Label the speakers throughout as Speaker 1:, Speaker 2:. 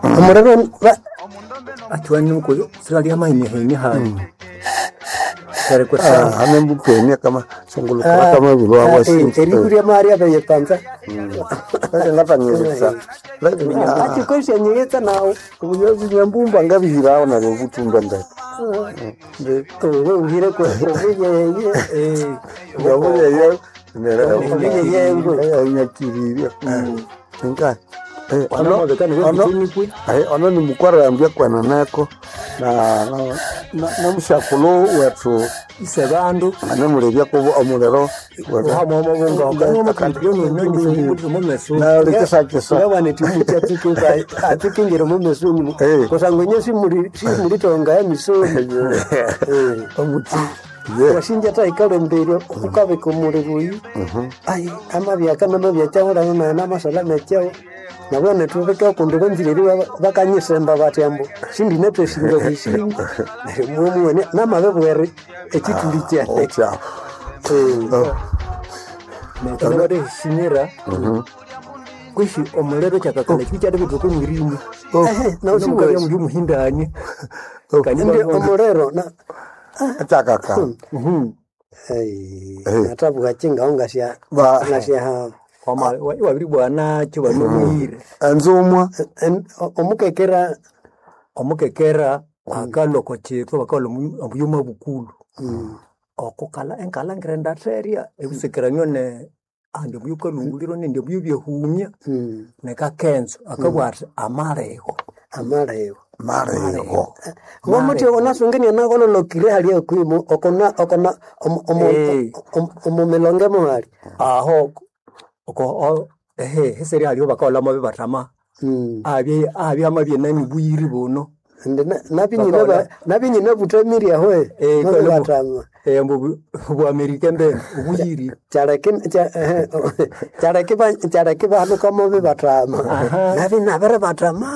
Speaker 1: Omuliro
Speaker 2: Athiwani silalya amahinyahinya hali Kare
Speaker 3: hane mbukenia kama sungulukala kama bilwa wasinza
Speaker 1: erikuria mari abeyepanza
Speaker 3: ngatanyirisa
Speaker 1: achikoshenyiyitsa nawo
Speaker 3: nyambumba ngabihirawo naryo butumba ndeke
Speaker 1: we uhire kuvuyeye
Speaker 3: ngabuyeye
Speaker 1: Obuyeyengwe.
Speaker 3: nyakiriria nka ono ni mukwarambya kwananeko na mushakulo wetu
Speaker 2: ise bandu
Speaker 3: anemulebya kubo omuliro nalikisakisa
Speaker 1: ngawanetimucha atikingira mumesoni
Speaker 3: Eh.
Speaker 1: kusangwa inye simulitonga ya misoni
Speaker 3: omuti
Speaker 1: washinja taikalembeire ukabika omuliro oyu ai amabyaka namabyakyawo nana namasala mekyawo nabwana tubika kundi banzire bakanyisemba bati ambu sindinetwesinga bwisinga neryo mwemuwene namabebwere ekituli kyane
Speaker 3: otya
Speaker 2: nekinabateshinyira kwishi omuliro kyakakala kibi kyadibithuka omwirimu
Speaker 1: nausiwesi
Speaker 2: muli omuhindanye
Speaker 1: ndi omuliro na
Speaker 3: akyakaka
Speaker 1: Ai,
Speaker 3: Eh.
Speaker 1: natabuka kingaho ngasya
Speaker 3: Ba-
Speaker 1: ngasya
Speaker 2: iwabiri bwanakyo banomuhire
Speaker 3: enzumwa
Speaker 1: omukekera
Speaker 2: omukekera akalwa oko kitwa bakalwa omuyuma bukulu okukala enkala ngirendatherya ebisekeranio ne andi omuyu kalunguliro nindi omuyu byehumya nekakenzo akabwa athi amalego
Speaker 1: amalego
Speaker 3: marego
Speaker 1: ngomuthi onasungenia nakololokire hali okwimu okona okona
Speaker 2: Eh.
Speaker 1: omumilonge muhali
Speaker 2: aho oko ehe heseri haliho bakaholamo bibatama abye abye amabye nani buyiri buno
Speaker 1: Indi nabinyina butamiri aho
Speaker 2: Eh, kole bu-
Speaker 1: batama
Speaker 2: eh mbu bu Amerika mbene ubuyiri
Speaker 1: kyaleki bahanukamo bibatama nabi nabere batama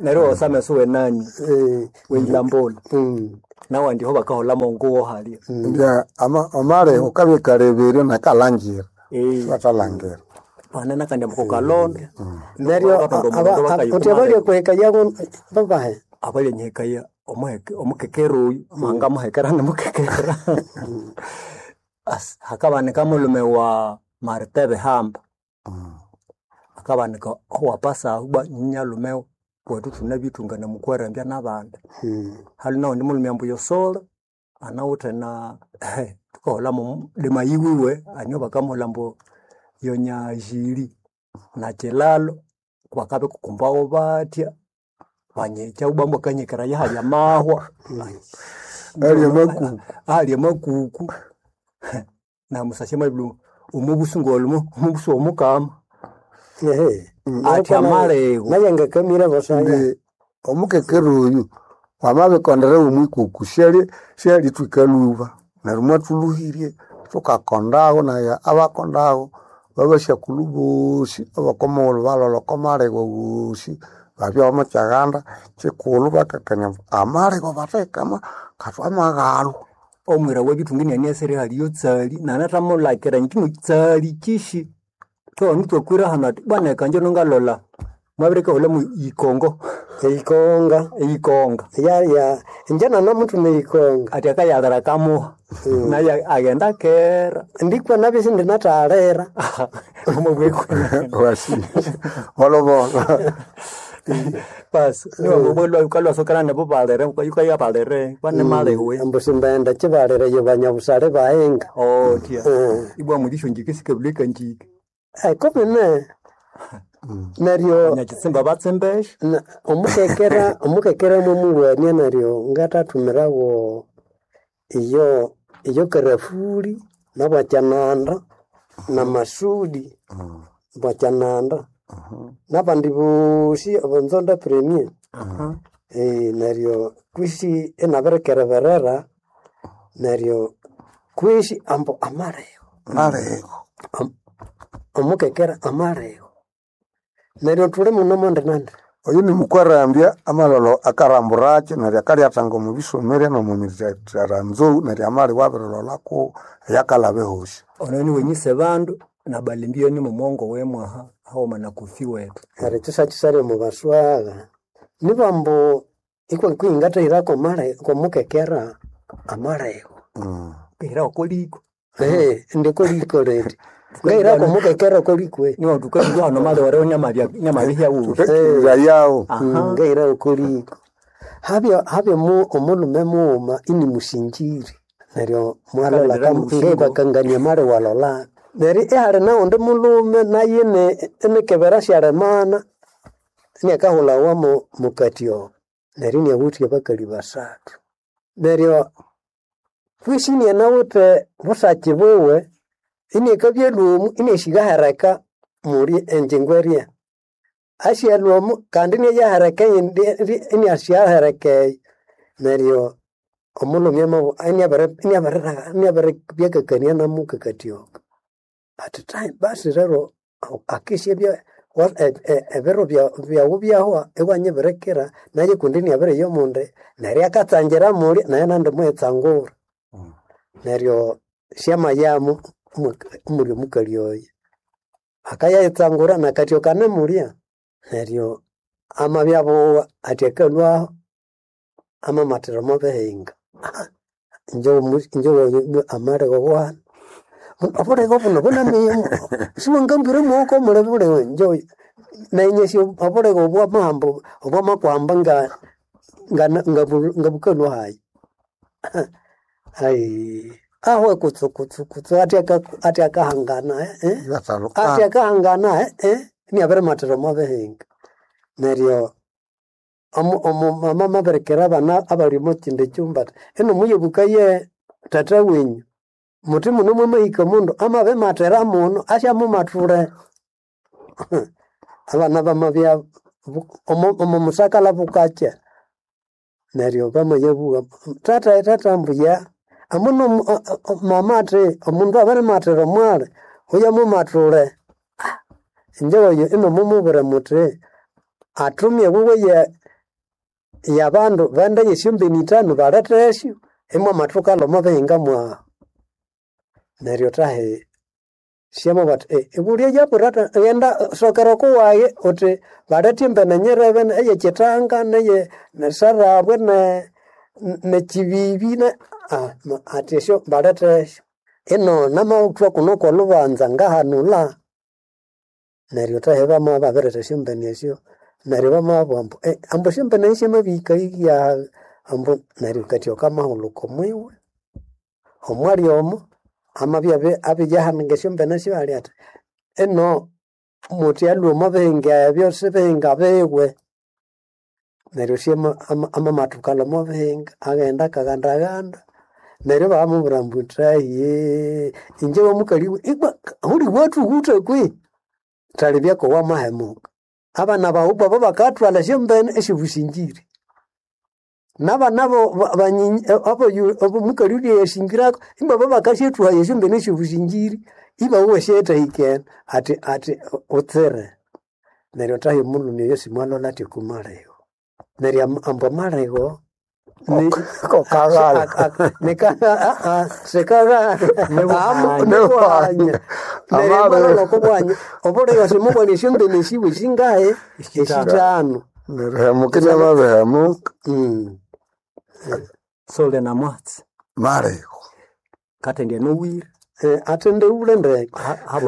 Speaker 2: neryo osame suwe nani
Speaker 1: Eh,
Speaker 2: weyilambola
Speaker 1: mm.
Speaker 2: nawandiho bakaholamo nguwo halya
Speaker 3: ndia amalego kabikaleberyo nakalangira
Speaker 2: Eh.
Speaker 3: batalangira
Speaker 2: panana kandi amukokalonda
Speaker 1: neryo uthi abalya yago babahe
Speaker 2: abalyenyekaya omukekera oyu manga muhekera namukekera As- hakabanika mulume wa Marite Bihamba akabanika owapasa uba nyalume wetu thunabithungana mukwarambya nabandi hali naundi mulume ambu yosola anawithe na tukahola lima yiwiwe anio bakamuhola mbu yonyajili na kilalo bakabikukumbawo batya banyekya ubambu akanyekera yahali amahwa
Speaker 3: alya makuku
Speaker 2: ahali amakuku namusasya mabilu omubusu ngolumo omubusu omukama
Speaker 1: Ehe.
Speaker 2: Athi amalego.
Speaker 1: nayengakamira basaya
Speaker 3: ndi omukekera oyu wamabikondera omwikuku syalitwika luba neryo mwathuluhirye thukakondago naye abakondago babasyakulhu bosi abakomughulhu balolha oko malego wosi babya bamukyaganda kyikulhu bakakania amalego bathekama kathwamaghalwa
Speaker 2: omwira webithunga inianiasere haliyo tsali nanathamulakira nyikino tsali kishi twawanu twakwira hano ati bwana ekanje nongalola mwabirekahola mu ikongo
Speaker 1: eikonga
Speaker 2: eikonga
Speaker 1: ya ya njana namutu neikonga
Speaker 2: ati akayalira kamuha naye agenda kera
Speaker 1: ndikwa nabisi ndinatalera
Speaker 2: omubwekwe
Speaker 3: wasi bolobolo
Speaker 2: basi niwamubwelwa nabo balere yukaya balere bane malewe
Speaker 1: ambu simbaenda kibalire banyabusale bahenga
Speaker 2: otya ibwa mulisho njike sikabuleka njike
Speaker 1: kumene neryo
Speaker 2: nyakitsimba batsimbesha
Speaker 1: omukekera omukekera mwemuwania neryo ngatathumirawo iyo iyo karafuri nabwakyananda na masudi bwakyananda nabandi bosi abonzonda premier neryo kwisi inabirikereberera neryo kwisi ambu amalego
Speaker 3: malego
Speaker 1: omukekera amalego neryo thuli muno mondinandi
Speaker 3: oyu ni mukwarambya amalolo akaramburakyo neryo akalyathanga omu bisomere n'omu mitaranzou neryo amali wabirilolako eyakalaba ehosi
Speaker 2: ono ni wenyise bandu Na Balembio ni mumongo wemwaha haoma na Kofi wetu.
Speaker 1: Neryo kyisakisali omu baswagha nibambu ikwa kwingatahirako male komukekera amalego.
Speaker 2: Kehira okoliko.
Speaker 1: Indi koliko lindi ngahirako omukekera kolikwe.
Speaker 2: Niwa tukabya hano mali wareo nyamabya nyamabihya wu.
Speaker 3: Tukekiriza yawo.
Speaker 2: Aha.
Speaker 1: Ngahirako koliko habya habya mu omulume mughuma ini musinjiri neryo mwalola
Speaker 2: Kalendera musingo.
Speaker 1: ngabakangania mali walola neryo ihali nawundi mulume naye inikebera syalemana iniakahulhawa mukati omo neryo iniawithe abakali basathu neryo kwisi inianawithe busaki buwe iniakabya lwomu iniasyigahereka muli enjingo erya asyalhwa omu kandi iniayahereka eyindi iniasyahereka eyo neryo omulhume iniabiribyakakania namukakati oko athi thahi basi rero akisyabya ebiro byawu byahwa iwanyibirikira naye kundi iniabiriya omundi neryo akatsangira muli naye nandi mughitsangura. Neryo syamayamu omuli omukali oyo akayayitsangura nakatyo kanemulya neryo amabya abugha athi akalhwaho amamathira omo bihinga. Inje amalhego bwana obulego buno bunamiya siwangambwira mughoko muli bulego inje nayinyasi obulego obwamahamba obwamakuhamba ngabukalhwa hayi. Ayi aho kutsu kutsu kutsu athi akahangana athi akahangana iniabirimathira omo bihinga neryo omumama amabirikira abana abali omo kyindi kyumba athi ino muyebukaye tata wenyu muthi muno mwamahika omundu amabimathira muno asyamumathule. Abana bamabya omo musakala bukakya neryo bamayabugha tata tata ambuya amuno mama athi omundu abirimathira omwali huyamumathule. Inje oyo inamumubwira muthi athumye wuwe yabandu bende yesyombeni ithanu balethesyo imwamathukalha omo bihinga mwahu. Neryo thahi syamabugha athi ibulya yabwira ghenda sokera okuwayi uthi balethe embene nyirebe eyekyithanga neye nesarabwe nekyibibi athi esyo balethesyo ino namathwa kuno kwolhubanza ngahanulha. Neryo thahi bamabya babiretha esyombene esyo neryo bamabugha ambu ambu esyombene esyo syamabihika yaha ambu neryo katyoka kamahulhuka omwiwe omwali omo amabya abiyahanika esyombene syo ali athi ino muthi alhwa omo bihinga ebyo sibihinga biwe. Neryo amamathukalha omo bihinga aghenda akaghandaghanda neryo ibamubwira ambu thahi inje wamukali ibwa huli wathughutha kwihi thalibya kowamahemuka. Abana baghu babo bakathwalha esyombene esyobusinjiri nabana abomukali ulya yasingirako ibabo bakasyathuhaya esyombene esyobusinjiri ibawuwa esyayithahikene athi athi utsire. Neryo thahi omulhume oyo simwalholha athi okumalego. Neryo ambu amalego
Speaker 3: Kokaghala.
Speaker 1: sikaghala nibuhanya. Neryo amalholha okobuhanya obulego simubwana esyombene esiwe singahi esithanu.
Speaker 3: Nerihemuka inamabihemuka.
Speaker 2: Sole na mwatsi.
Speaker 3: Malego.
Speaker 2: Kathendya nowire.
Speaker 1: Athendeule ndeke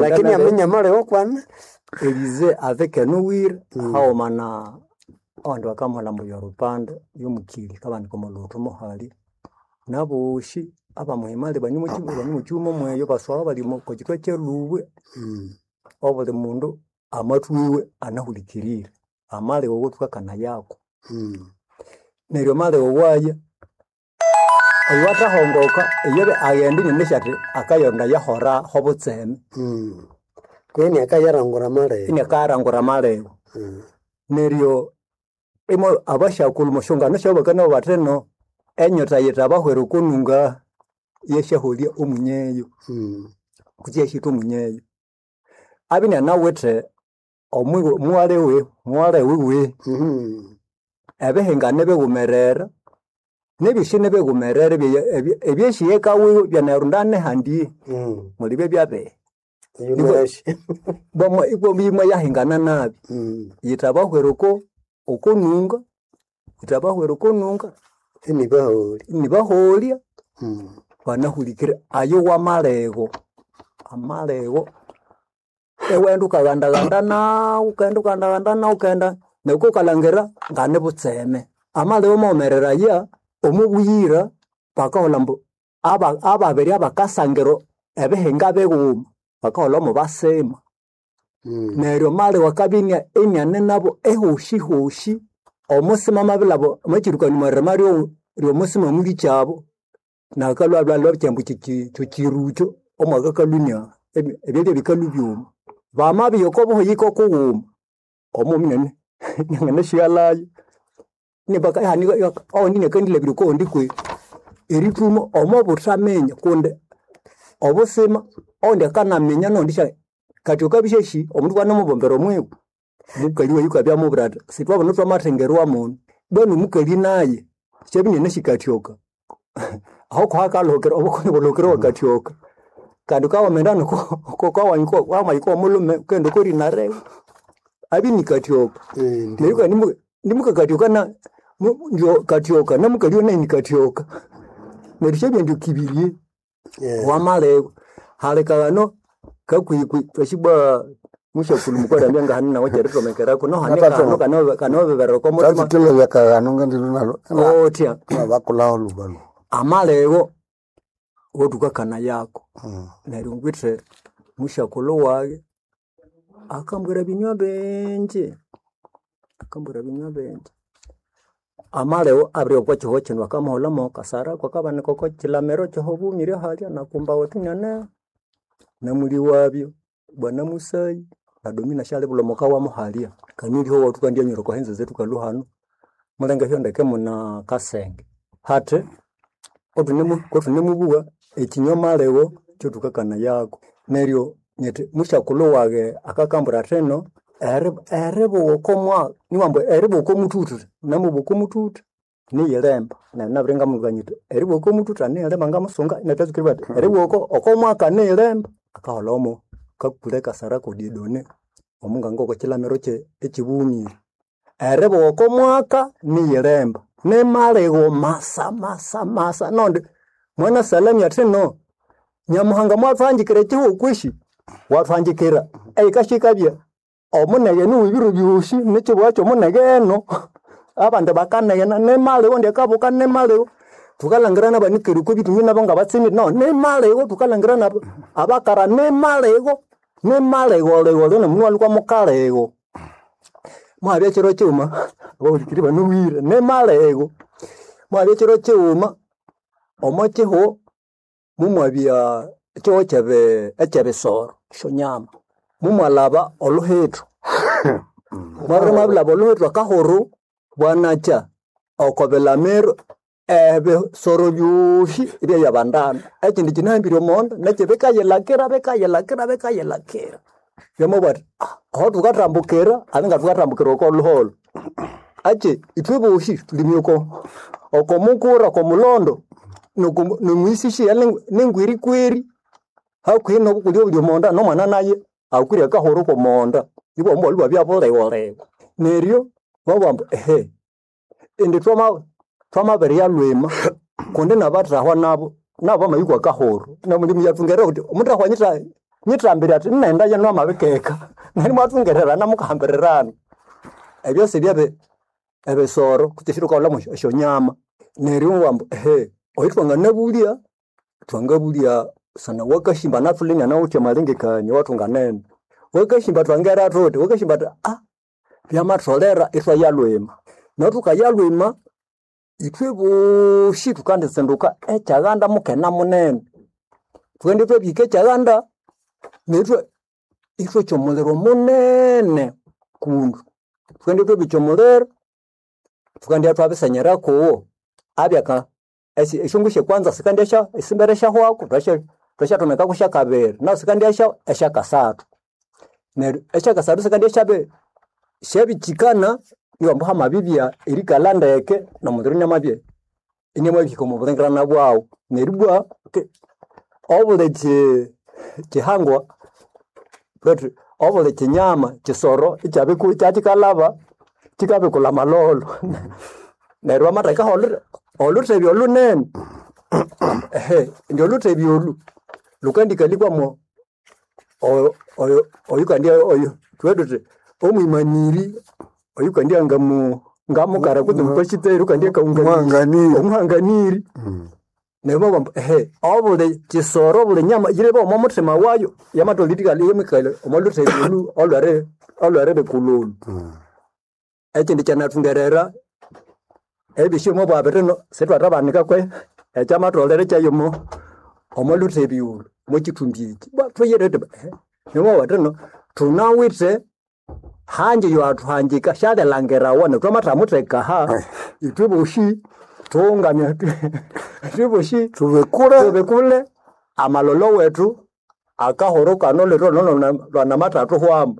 Speaker 1: lakini aminya amalego kwana.
Speaker 2: Elize avec nowire haoma na abandu bakamuhalha ambu yorupande yomukili kabanika omo lhuthu muhali naboshi abamuhimali bane omukyuma mweyo baswagha bali okwa kyithwa kyalhubwe obuli mundu amathwiwe anahulikirire amalhego awathukakanayako. Neryo amalhego waya oyo athahongoka iyobe aghenda inanasi athi akayonda yahora hobutseme.
Speaker 1: Kwihi iniakayarangura amalego.
Speaker 2: Iniakayarangura amalego. Neryo imo abasyakulhu omusyongano syabo bakanabugha bathi ino enyota yithabahwera okonunga yesyaholya omunyeyo kutse yasyitha omunyeyo. Abya inianawithe omughalha wiwe ebihinga nibighumerere nebyosi nibighumerere ebyesiyeka wiwe byanayirondana nehandi mulibya byabihi.
Speaker 1: Yunasi.
Speaker 2: Bwamwa ibwa yahingana nabi. Yitabahwera oko okonunga, yitabahwera okonunga
Speaker 1: Inibaholi.
Speaker 2: nibaholya banahulikire ayo wamalego amalego ewenda ukagandaganda nawu ukaghenda ukagandaganda nawu ukaghenda neryo ukalhangira ngane butseme amalego mawumereraya omo buyira bakaholha ambu ababiri abakasangira ebihinga bighuma bakaholha mubasima neryo amalego akabya iniane nabo ehoshihoshi omusima amabilhaba omwakyirukanimwa omwirima ryomusima mulikyabo nakalhwa lwa kyambu kyokyirukyo omwakakalhunia ebyalya bikalhwa byuma bamabya okobuhiyiko kughuma omo munene nanganasighalhayo owundi inakandilhabira okowundi kwe erithuma omobuthaminya kundi obusima owundi akanaminya nowundi kati wukabya omundu iwanamubombera omwibo omukali wayi akabya amubwira athi sithwabana thwamathengerwa munu bwanu omukali naye syabya inanasyikathyoka aho kuhakalhukira obukoni bulhukira wakathyoka kandi wukawamaghenda wamahika omulhume wukaghenda okorinarebe abya inikathyoka neryo kandi nimukakathyoka kathyoka namukali nayu nikathyoka neryo syabya indi kibirye wamalebwa halikaghano kakwikwi twasibwa musyakulhu mukalambya ngahano nawu kyerithomekeraku nohane
Speaker 3: Ngatathu-
Speaker 2: kano kanobeberera okomuthima
Speaker 3: Tatsukilebya kaghano ngandilwe nalo
Speaker 2: otya
Speaker 3: nabakulaho lubalu.
Speaker 2: amalego wothukakana yako neryo ngwithe musyakulhu waghe akambwira binywa bingi akambwira binywa bingi amalego abiri okwa kihugho kino akamuholha kasara kwakabanika oko kilamiro kyehobumire halya nakumba wetu nyane namuli wabyo bwana musayi na domina syalibulha omuka wamu halya kaniliho wothukandyanyura oko henze zethu kalhu hanu mulenge hyondeke muna kasenge hathi kothunemubuwa ekinywa malego kyothukakana yako neryo nyithi musyakulhu waghe akakambwira athino eribuwa okomwa niwambu eribuwa okomuthuthu namubuwa okomuthuthu niyilemba neryo nabiri ngamubwira nyithi eribuwa okomuthuthu niyilemba ngamusunga inathatsukiribwa athi eribuwa okomwaka niyilemba akaholha omo kakule kasara kodidone omunganga okwakilamiro ekyibumire eribuwa okomwaka niyilemba nimalego masa masa masa nondi mwana salamya athino nyamuhanga mwathuhangikira ekihugho kwishi wathuhangikira eyikashikabya omunege niwe ebiro byosi nekibugha kyomunege eno abandi bakanegena nimalego ndyakabuka nimalego thukalhangira nabanikere okwa bithungi nabo ngabatsimire no nimalego thukalhangira nabo abakara nimalego nimalego lego nomundu walhukwa mukalego mwabya kiro kighuma abahulikiri banuwire nimalego mwabya kiro kighuma omo kihugho mumwabya ekihugho ekyebisoro esyonyama mumwalhaba oluhithu mwabiri mwabilhaba oluhithu akahuru bwanakya oko bilamiro ebisoro byosi ibyayabandana ekindi kinahambire omonda nekyo bikayilhakira bikayilhakira bikayilhakira byamabugha athi "Ah, aho thukathambukira abinga thukathambukira oko luholho achi ithwe bosi thulimye oko oko mukura oko mulondo nomwisishiya nengwirikweri hakuhi nobukulya obuli omonda nomwana naye akwire akahuru komonda ibwa omwali bwabya bulegholego neryo babugha ambu ehe indi twamabirya lwima kundi nabathahwa nabo nabo bamayikwa akahuru namulimu yathungerera kuti omuthahwa nyithambire athi nnaghenda yenu amabikeka neryo imwathungererana mukahambirirana ebyosi byabe ebisoro kutse esyo esyonyama neryo wambu ehe oyu twanganabulya twangabulya sana wakashimba nathule inanawithe amalengekania wathunganene wakashimba twangera thuthi wakashimba athi ah byamatholera ithwayalhwima neryo thukayalhwima ithwe bosi thukanditsinduka ekyaghanda mukene munene thukaghenda ithwabihika ekyaghanda neryo ithwokya omuliro munene kundu thukaghenda ithwabikya omuliro thukandya thwabisenyera kuwo abyaka esyongu syekwanza sikandya esimbere syahwaku thwasyathomekaku syakabiri nahu sikandya esyakasathu neryo esyakasathu sikandya syabikyikana iwambu hamabibya erikalha ndeke nomuliro inamabya inamabihika omo bulengerana bwaghu neryo ibwa obuli kihangwa. Lwetu obuli kinyama kisoro ikyabiku kyakikalaba kikabikula amalolo. Neryo wamathekaho oluthebya olunene ehe indi oluthebya olu lukandikalikwa oyukandi oyo thubughe thuthi omwimaniri oyukandia ngamu ngamukara kutse mupasiteri ukandia
Speaker 3: Omuhanganiri.
Speaker 2: omuhanganiri neryo babugha ambu ehe obuli kisoro obuli nyama yirebe omo muthima wayo yamatholere yamikali omo luthebya olu olweri olweribikulha olu. Ekindi kyanathungerera ebyosi omwabwa bino sithwathabanika kwe ekyamatholere kyayo omo luthebya olu omo kithumbi eki bwa thuyire thuthi ehe neryo thino thunawithe hanji yowathuhangika syalilangirawa neryo thwamathamutheka aha ithwe bosi thughungamye ithwe bosi
Speaker 3: Tubikure
Speaker 2: tubikule amalolo wethu akahurukano lero lwanamathathuhwamu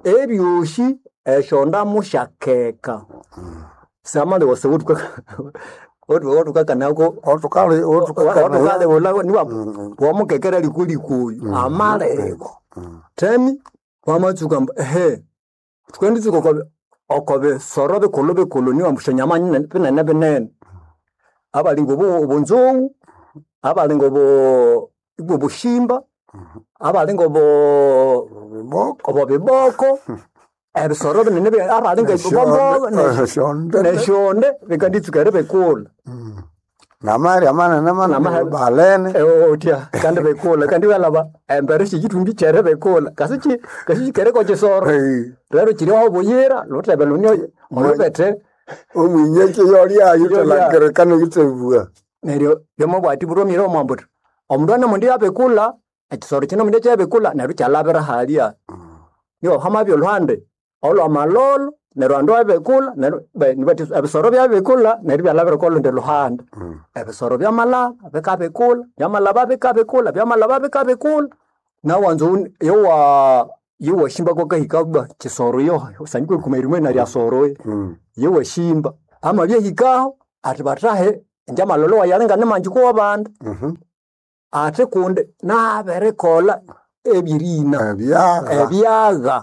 Speaker 2: ebyosi esyondamu syakeka samalewasa otukakanako
Speaker 3: otukali otukakanaya
Speaker 2: otukalewula niwa wamukekera likulikuyu amalego temi wamatsuka mbu ehe tukenditsuka oko oko bisoro bikulhu bikulhu niwa mbu syonyama nyine binene binene abalinga obu obunzungu abalinga obu ibwa obushimba abalinga obu
Speaker 3: biboko
Speaker 2: obo biboko ebisoro binene abalinga ebibombo
Speaker 3: esyonde
Speaker 2: nesyonde bikanditsuka eribikulha
Speaker 3: namali amanene manene
Speaker 2: Namahali.
Speaker 3: balene
Speaker 2: otya kandi bikulha kandi walaba embere syekithumbi kyeri bikulha kasi ki kasi kikereko kisoro
Speaker 3: Eh,
Speaker 2: rero kiri aho buyira luthebe luni olubethe
Speaker 3: omwinyeki yolyayo
Speaker 2: Yolya.
Speaker 3: thalangirikana yithebwa
Speaker 2: neryo byamabwati buromire omwambuthi omundu ane yabikulha ekisoro kino mundu ekyabikulha neryo kyalabira halya niwo hamabya olhuhande olwamalolo neryo andu abikulha neryo nibathi ebisoro byabikulha neryo byalabira okolundi luhande ebisoro byamalaba bikabikulha byamalaba bikabikulha byamalaba bikabikulha nawanza yowa yowashimba kwakahika bwa kisoro yo sanyikwe kumerimwe narya soro yowashimba amabyahikaho ati bathahe inje amalolo wayalenga nimanji kuwabandi ate kundi nabirikolha ebyerina
Speaker 3: ebyagha
Speaker 2: ebyagha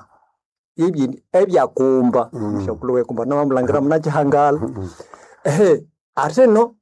Speaker 2: ebyakumba mushakulhu wekumba namamulangira munakihangala ehe ate no.